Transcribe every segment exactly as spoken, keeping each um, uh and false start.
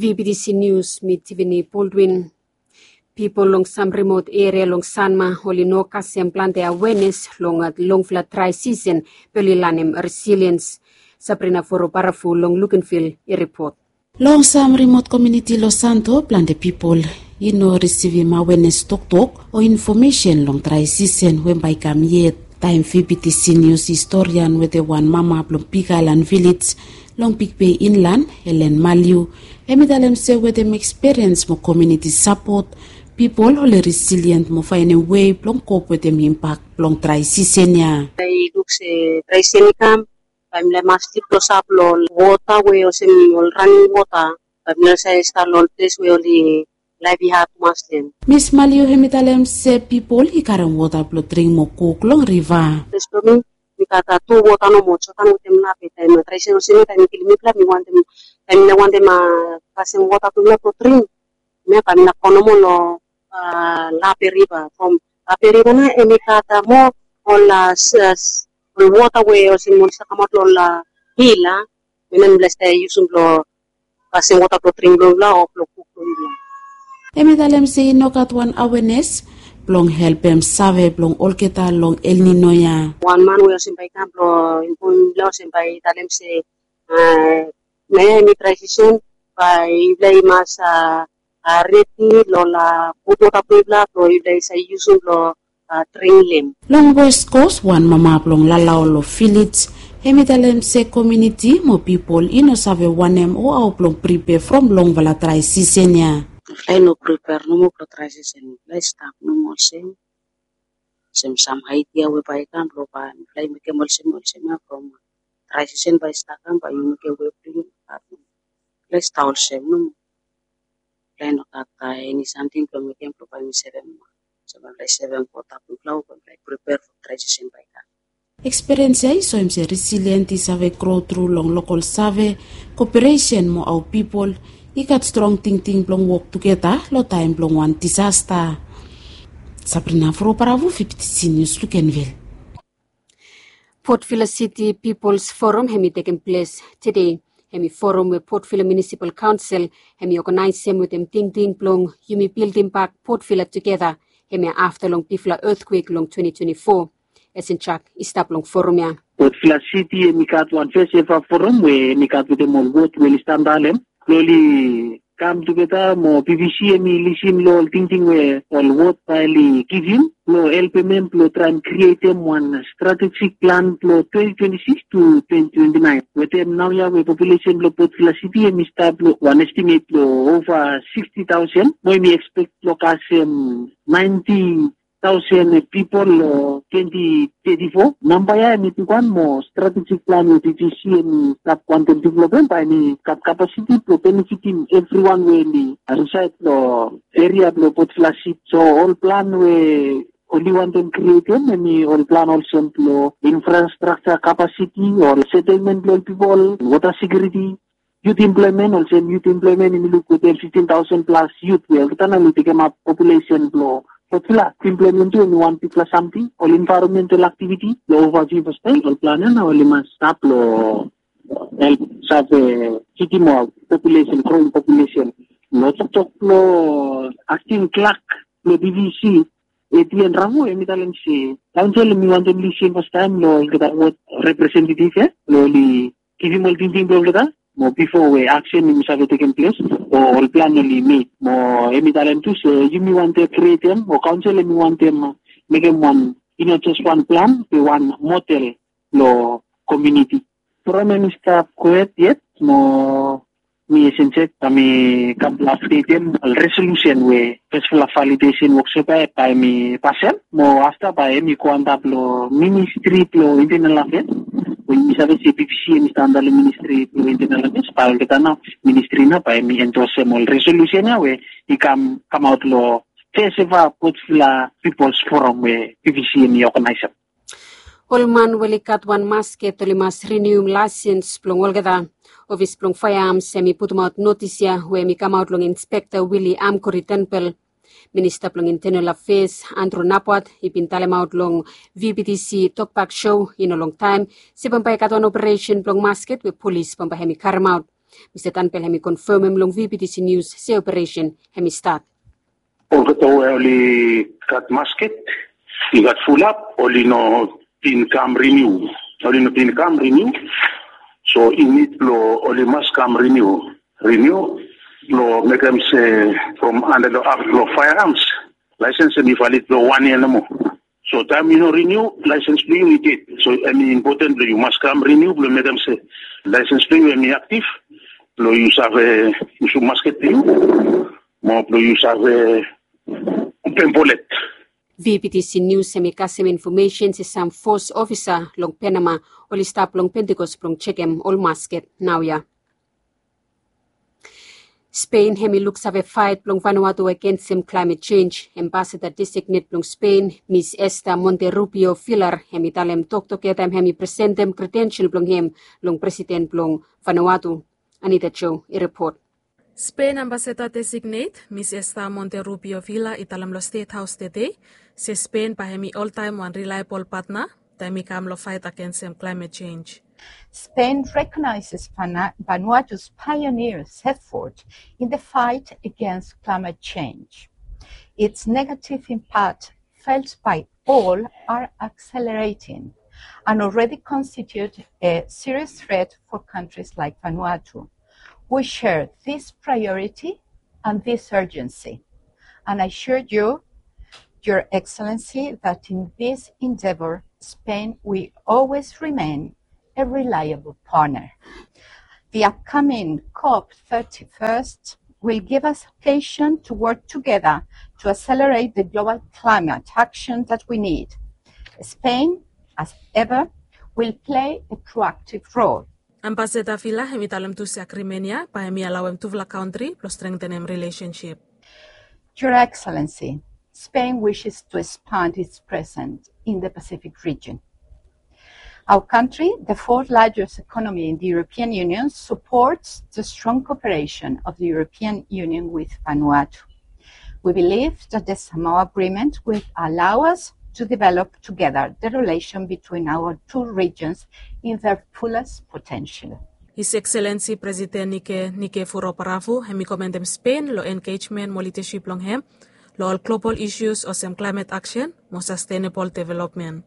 V B T C News, mi Tiffany Baldwin. Pipol long sam rimot eria long Sanma oli no kasem plante awenes long longfala drai sisen be oli lanem resiliens. Sabrina Foro Barafu long Lukenvil i ripot. Long sam rimot komuniti long Santo, plante pipol i no risivim awenes toktok o infomesen long drai sisen we bae i kam yet. Taem V B T C News historian wetem wan mama blong Big Island Village long Big Bay Inland, Ellen Maliu, hem i talem se wetem ekspiriens mo komuniti sapot, pipol oli resilient mo faenem wei blong kop wetem impak blong drai sisen ya. I luk se drai sisen i kam, bae mifala i mas stap klosap long wota we olsem ol raning wota, bae mifala i save stap long ol ples we oli laef i had tumas long hem. Mis Maliu hem i talem se pipol i karem wota blong dring mo kuk long riva. Ples blong mi, mi gat tu wota nomo, Jotan wetem Lape. Taem drai sisen olsem ya, taem i kilim mifala, mi wantem, taem mi no wantem kasem wota blong mifala blong dring, mi bae mi no go nomo long Lape Riva. From Lape Riva nao hem i gat moa ol ol wota we olsem oli save kamaot long ol hil, a, we nao mifala i save yusum blong kasem wota blong dring blong mifala o blong kuk blong mifala. Hem i talem se i no gat wan awenes blong helpem save blong olgeta long El Nino ya. Wan man we olsem bae i kam blong infomem mifala olsem bae i talem se, a, naoia hem i drai sisen, bae mifala i mas, a, redi long ol gud wota blong mifala blong mifala i save yusum blong dring long hem. Long West Coast, wan mama blong Lalao long Village, hem i talem se komuniti mo pipol i no save wanem o hao blong pripea from longfala drai sisen ya. Mifala i no pripea nomo blong drai sisen, mifala i stap nomo olsem. Olsem sam aidia we bae i kam blong bae mifala i mekem olsem, olsem ya from drai sisen bae i stap kam, bae yu mekem wei blong yu. Mifala i stap olsem nomo. Mifala i no gat eni samting blong mekem blong bae mi sevem, olsem bae mifala i sevem wota blong mifala o bae mifala i pripea from drai sisen bae i kam. Ekspiriens ya i soem se resilient i save gro tru long lokol save, koperesen mo hao pipol i gat strong tingting blong wok tugeta long taem blong wan disasta. Sabrina Foro Barafu, V B T C News, Lukenvil. Port Vila City People's Forum hem i tekem ples tede. Hem i forum we Port Vila Municipal Council hem i oganaesem wetem tingting blong yumi bildim bak Port Vila tugeta, hem ya afta long bigfala etkwek long twenty twenty-four. Esen Chak i stap long forum ya. Port Vila City hem i gat wan fes eva forum we hem i gat wetem ol wod we oli stap dalem blong oli kam tugeta mo B V C hem i lisin long ol tingting we ol wod bae oli givim blong helpem hem blong traem krietem wan strategic plan blong twenty twenty-six to twenty twenty-nine. Wetem naoia we populesen blong Port Vila City hem i stap long wan estimet blong ova sixty thousand mo hem i ekspek blong kasem ninety thousand pipol long twenty thirty-four. Namba ya hem i bigwan mo strategic plan we B V C hem i stap wantem developem bae hem i gat kapasiti blong benefitim evriwan we oli risaed long eria blong Port Vila City. So ol plan we oli wantem krietem hem i ol plan olsem blong infrastructure kapasiti, ol setelmen blong ol pipol, wota sekiuriti, youth employment, olsem youth employment hem i luk wetem fifteen thousand plus youth we olgeta nao oli tekemap populesen blong Port Vila. Employment tu hem i wan bigfala samting, ol environmental activity blong ova fiu pastaem. Ol plan ya nao oli mas stap long help save fidim ol populesen, growing populesen. Long toktok blong acting clerk blong B V C, Etienne Ramo, hem i talem se kaonsel hem i wantem lisin pastaem long olgeta wod representetiv ya blong oli givim ol tingting blong olgeta mo bifo we aksen hem i save tekem ples o ol plan oli mek. Mo hem i talem tu se yumi wantem krietem o kaonsel hem i wantem mekem wan, i no jes wan plan be wan model long komuniti. Forum hem i stap gohed yet mo mi Esen Chak bae mi kam blong apdetem ol resolusen we fesfala validesen woksop ya bae hem i pasem mo afta bae hem i go antap long Ministri blong Internal Afeas. We yumi save se B V C hem i stap antap long Ministri blong Internal Afeas, bae olgeta nao ministri nao bae hem i endosem ol resolusen ya we i kam, kamaot long fes eva Port Vila People's Forum we B V C hem i oganaesem. Ol man we oli gat wan masket oli mas rinium laesens blong olgeta. Ofis blong faeams hem i putumaot notis ya we hem i kamaot long Inspekta Willy Amkori Tenpel. Minista blong Internal Afeas Andrew Napwat i bin talemaot long V B T C Tokbak Show i no longtaem se bambae i gat wan operesen blong masket we polis bambae hem i karemaot. Mista Tanpel hem i konfemem long V B T C News se operesen hem i stat. Olgeta we oli gat masket, i gat fulap, oli no bin kam riniu. Oli no bin kam riniu. So i nid blo oli mas kam riniu. Riniu blo mekem se from anda lo akt lo firearms, laesens hem i valid blo wan yia nomo. So taem yu no riniu, laesens blo yu i ded. So hem i impoten blo yu mas kam riniu blo mekem se laesens blo yu hem i aktiv, blo yu save yusum masket blo yu, mo blo yu save open bolet. V B T C News hem i kasem infomesen se sam fos ofisa long Panama oli stap long Pentecost blong jekem ol masket naoia. Spain hem i luksave faet blong Vanuatu agensem klaemet jenj. Ambasada designet blong Spain, Mis Esther Monterrubio Villar, hem i talem toktok ya taem hem i presentem kredensel blong hem long presiden blong Vanuatu. Anita Joe i ripot. Spain ambasada designet, Mis Esther Monterrubio Villar, i talem long Stet Haos tede se Spain bae hem i oltaem wan rilaebol patna taem i kam long faet agensem klaemet jenj. Spain recognizes Vana- Vanuatu's pioneers' effort in the fight against climate change. Its negative impact felt by all are accelerating and already constitute a serious threat for countries like Vanuatu. We share this priority and this urgency, and I assure you, Your Excellency, that in this endeavor, Spain will always remain a reliable partner. The upcoming COP thirty-first will give us occasion to work together to accelerate the global climate action that we need. Spain, as ever, will play a proactive role. Ambasada Villar hem i talem tu se agrimen ya bae hem i alaoem tufala kantri blo strengtenem rilesensip. Your Excellency, Spain wishes to expand its presence in the Pacific region. Our country, the fourth largest economy in the European Union, supports the strong cooperation of the European Union with Vanuatu. We believe that the Samoa Agreement will allow us to develop together the relation between our two regions in their fullest potential. His Excellency Presiden Nike Nike Vurobaravu hem i komendem Spain long engejmen mo lidasip blong hem long ol global isus olsem klaemet aksen mo sastenabol developmen.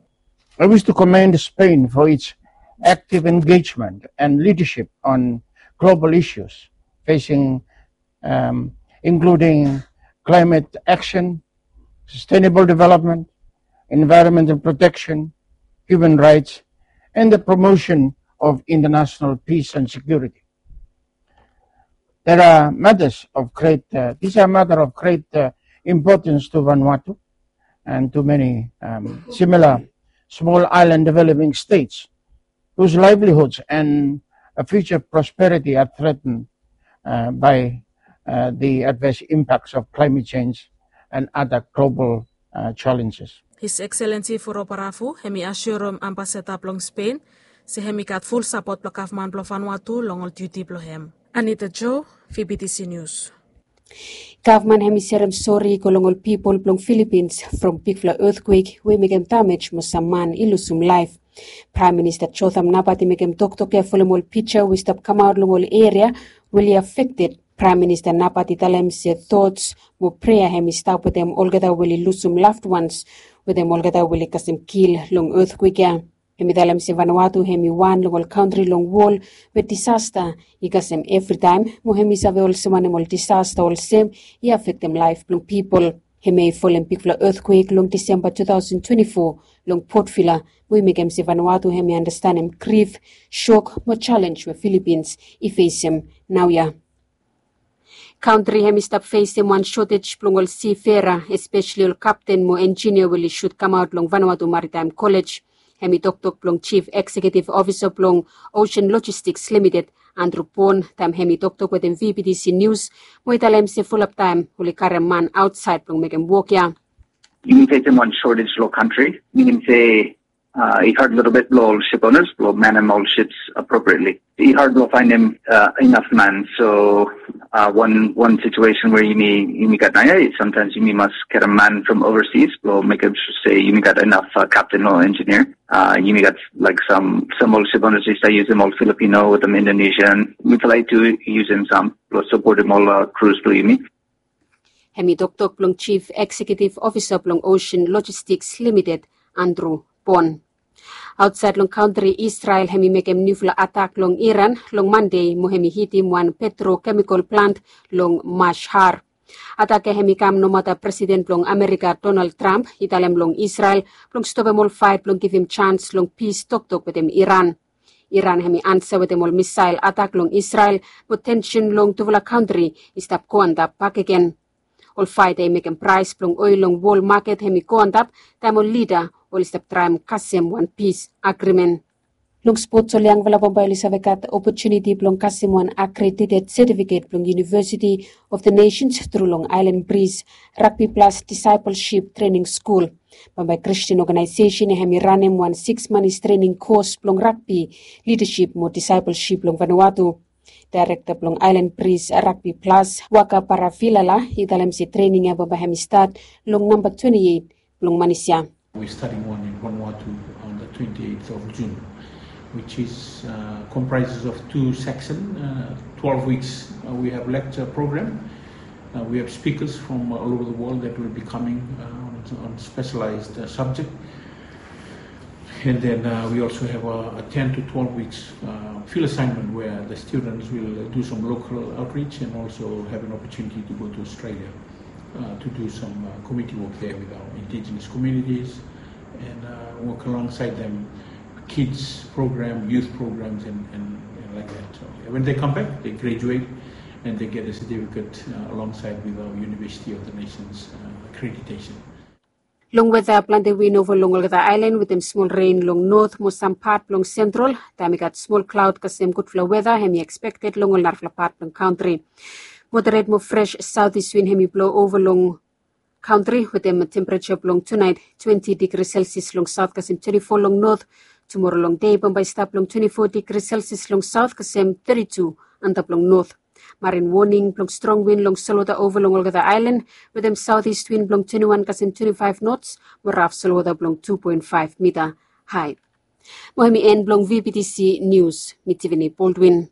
I wish to commend Spain for its active engagement and leadership on global issues facing, um, including climate action, sustainable development, environmental protection, human rights, and the promotion of international peace and security. There are matters of great, uh, these are matter of great, uh, importance to Vanuatu and to many, um, similar small island developing states whose livelihoods and, uh, future prosperity are threatened, uh, by, uh, the adverse impacts of climate change and other global, uh, challenges. His Excellency Vurobaravu hem i asiorem ambasada blong Spain se hem i gat ful sapot blong gavman blong Vanuatu long ol diuti blong hem. Anita Joe, V B T C News. Gavman hem i serem sori i go long ol pipol blong Filipins from bigfala etkwek we i mekem damej mo sam man i lusum laef. Praem Minista Jotham Napat i mekem toktok ya folem ol pija we i stap kamaot long ol eria we oli afekted. Praem Minista Napat i talem se tots mo prea hem i stap wetem olgeta we oli lusum loved ones wetem olgeta we oli kasem kil long etkwek ya. Hem i talem se Vanuatu hem i wan long ol kantri long wol we disasta i kasem evritaem mo hem i save olsem wanem ol disasta olsem i afektem laef blong pipol. Hem i folem bigfala etkwek long Disemba two thousand twenty-four long Port Vila we i mekem se Vanuatu hem i andastanem grif, shok mo jalenj we Filipins i fesem naoia. Kantri hem i stap fesem wan shotej blong ol sifera, espeseli ol kapten mo enjinia we oli sut kamaot long Vanuatu Maritaem Kolej. Hem i toktok blong Jif Ekseketif Ofisa blong Ocean Logistics Limited, Andrew Bon, taem hem i toktok wetem V B T C News mo i talem se fulap taem oli karem man aotsaed blong mekem wok ya. Yumi fesem wan shortage lo kantri, minim se I had a little bit blong ol ship owners blong manem ol ships appropriately. I had blong finding uh, enough man. So uh, one one situation where you need you need got naya is sometimes you must get a man from overseas blong make him say you need got enough uh, captain or engineer. Uh, you need got like some some old ship owners used to use them all Filipino with them Indonesian. We try to use them some blong support them all uh, crews blong you need. Hemi toktok blong chief executive officer blong Ocean Logistics Limited, Andrew Bon. Aotsaed long kantri Israel hemi mekem niufala atak long Iran long Mande mo hemi hitim wan petrokemikol plant long Mashhar. Atak ya hemi kam nomata Presiden blong Amerika Donald Trump i talem long Israel blong stopem ol faet blong givim jans long pis toktok wetem Iran. Iran hemi ansa wetem ol misael atak long Israel mo tensen long tufala kantri i stap go antap bakegen. Ol faet ya i mekem praes blong oel long wol maket hemi go antap taem ol lida oli stap traem kasem wan pis agrimen. Long spots ol yangfala bambae oli save gat opotuniti blong kasem wan akredited setifiket blong University of the Nations tru long aelan Bris Rugby Plus Discipleship Trening Skul. Bambae Kristin Oganaesesen ya hemi ranem wan siks manis trening kos blong rugby, lidasip mo discipleship long Vanuatu. Daerekta blong Aelan Bris Rugby Plus, Waka Paravilala, i talem se trening ya bambae hemi stat long namba twenti eit blong manis ya. We're starting one in Vanuatu on the twenty-eighth of June, which is uh, comprises of two section, uh, twelve weeks. Uh, we have lecture program. Uh, we have speakers from all over the world that will be coming uh, on, on specialized uh, subject. And then uh, we also have a, a ten to twelve weeks uh, field assignment where the students will do some local outreach and also have an opportunity to go to Australia uh, to do some uh, community work there with our indigenous communities and uh, work alongside them, kids program, youth programs, and, and, and like that. So yeah, when they come back, they graduate and they get a certificate uh, alongside with our University of the Nations uh, accreditation. Long weta, plante win ova long olgeta aelan wetem smol ren long not mo sam pat blong sentral. Taem i gat smol klaod kasem gudfala weta hemi ekspekted long ol narafala pat blong kantri. Moderet mo fres saotis win hemi blo ova long kantri wetem tempereja blong tunaet twenti digri selsias long saot kasem twenti fo long not. Tumora long dei bambae i stap long twenti fo digri selsias long saot kasem teti tu antap long not. Marin woning blong strong win long solwota ova long olgeta aelan wetem saotis win blong twenti wan kasem twenti faef nots mo raf solwota blong tu poen faef mita hae. Mo hemi en blong vbtc nius. Mi Tivini Baldwin.